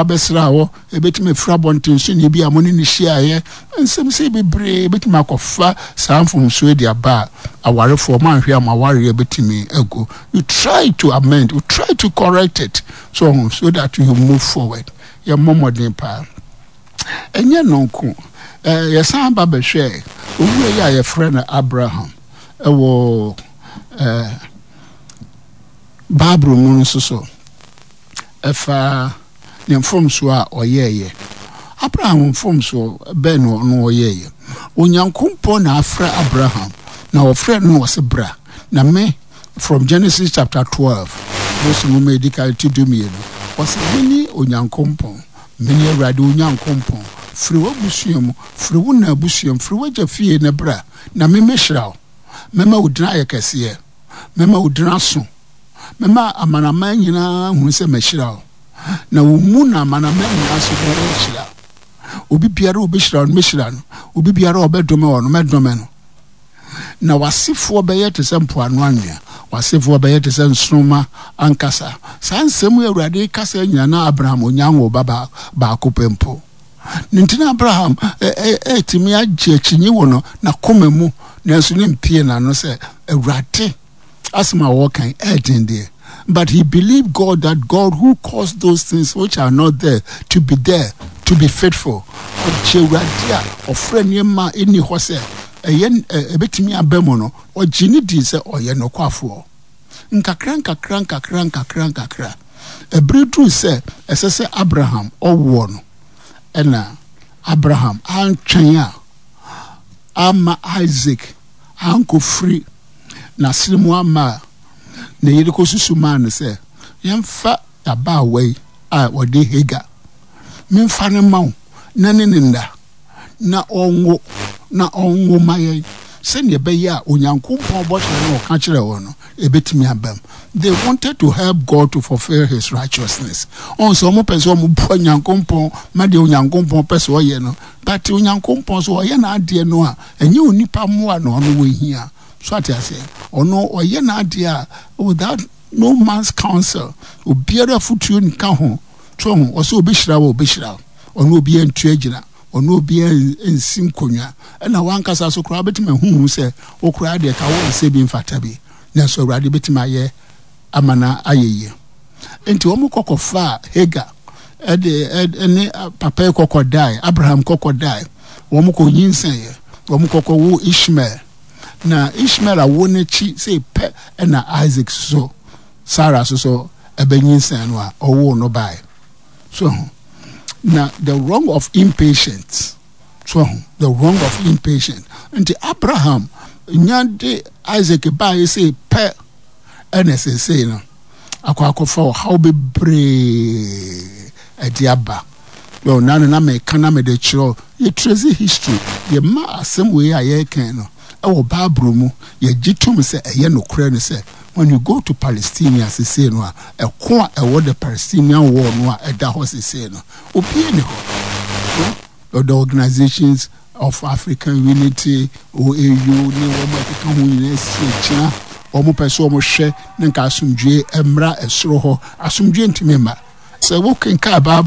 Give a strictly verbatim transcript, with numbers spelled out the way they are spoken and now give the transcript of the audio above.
Wabɛsra hɔ, ebetumi afiri abɔnten so ne bi a mo ne no hyiaeɛ. Nsɛm sɛ bebree ebetumi akɔfa saa mfomsoɔ de aba a, awarefoɔ mo anhwɛ a, mo awareɛ betumi agu. You try to amend, you try to correct it so so that you move forward. Yɛmmɔ mmɔden paa. Ɛnyɛ no nko, ɛɛ yɛsan ba bɛhwɛ owura yi a yɛfrɛ no Abraham ɛwɔ ɛɛ Bible mu nso so, ɛfa ne mfomsoɔ a ɔyɛɛyɛ. Abraham mfomsoɔ bɛn na ɔno ɔyɛɛyɛ? Onyankopɔn na afrɛ Abraham, na ɔfrɛ no na ɔsɛ bra na me, from Genesis chapter twelve, Mose nwoma edi kan ti du mmienu, ɔsɛ mene Onyankopɔn, mene Awurade Onyankopɔn. Firi w'abusua mu, firi wo na abusua mu, firi w'agya fie na bra, na me mɛhyira wo. Mɛma wo din ayɛ kɛseɛ, mɛma wo din aso, mɛma amanaman nyinaa hunu sɛ mɛhyira wo, na wo mu na amanaman nyinaa so bɛhyira. Obi biara a obɛhyira no, mɛhyira no. Obi biara a ɔbɛdome wɔ no, mɛdome no. Na w'asefoɔ bɛyɛ te sɛ mpoano anwea, w'asefoɔ bɛyɛ te sɛ nsoroma ankasa. Saa nsɛm yi Awurade kasa nyina na Abraham onya wo ba baako pɛ mpo ne. Nti na Abraham ɛtumi agye akyinyi wɔ no n'akoma mu, nanso ne mpie n'ano sɛ Awurade asɛm a wɔkan ɛɛden deɛ, but he believed God, that God who caused those things which are not there to be there to be faithful. Ɔgye Awurade a ɔfrɛ nneɛma a ɛnni hɔ sɛ ɛyɛ ɛbɛtumi aba mu no, ɔgye ne di sɛ ɔyɛ nokwafoɔ. Nkakra nkakra nkakra nkakra nkakra, ɛbere duru sɛ ɛsɛ sɛ Abraham ɔwoɔ no, ɛna Abraham antwɛn a ama Isaac ankɔfiri n'asene mu ama a ne yere kɔsusu maa no sɛ yɛmfa abaawa yi a ɔde Hagar memfa no ma wo na ne ne nda na ɔnwo na ɔnwo ma yɛn, sɛnea ɛbɛyɛ a Onyankopɔn bɔhyɛ no ɔka kyerɛ wɔn no ɛbɛtumi aba mu. They wanted to help God to fulfill his righteousness. Ɔn sɛ ɔmo pɛ sɛ ɔmo boa Onyankopɔn ma deɛ Onyankopɔn pɛ sɛ ɔyɛ no, but Onyankopɔn so ɔyɛ n'adeɛ no a, ɛnyɛ onipa mmoa na ɔno wɔ hia so. Ate aseɛ? Ɔno ɔyɛ n'adeɛ a without no man's counsel, obiara afotuo nka ho. So ho ɔsɛ obɛhyira wɔ, obɛhyira wo. Ɔno obiara ntua gyina, ɔno obiara nsi nkonnwa, ɛna wankasa so koraa wobɛtumi ahuhu sɛ wo koraa deɛ ka wo nsɛ bi mfata bi, nanso Awurade bɛtumi ayɛ ama no ayɛ yie. Nti wɔn kɔkɔfa Hagar ɛde ɛne papa yi kɔkɔ dae, Abraham kɔkɔ dae. Wɔn kɔ nyinsɛn, wɔn kɔkɔ wo Ishmael. Na Ishmael awo n'akyi sɛ pɛ, ɛna Isaac so Sarah so so ɛbɛnyinsɛn no a ɔwoo no bae so ho. Na the wrong of impatience so ho, the wrong of impatience. Nti Abraham nya de Isaac baeɛ sɛ pɛ, ɛna sesei no akɔ akɔfa ɔhaw bebree ɛde aba. Yɛ na no na meka na mede kyerɛ yɛtrace history, yɛma asɛm wei a yɛrekan no ɛwɔ Bible mu, yɛgye tom sɛ ɛyɛ nokorɛ no sɛ when you go to Palestine sesei no a, ɛko a ɛwɔ the Palestinian war no a ɛda hɔ sesei no, obiara ni hɔ. The Organizations of African Unity, O A U, ne wɔn a ɛkeka ho nyinaa si agyina. Wɔn pɛ sɛ wɔn hwɛ ne nka asomdwe mmra ɛsoro hɔ. Asomdwe ntumi mma sɛ wokenka Bible.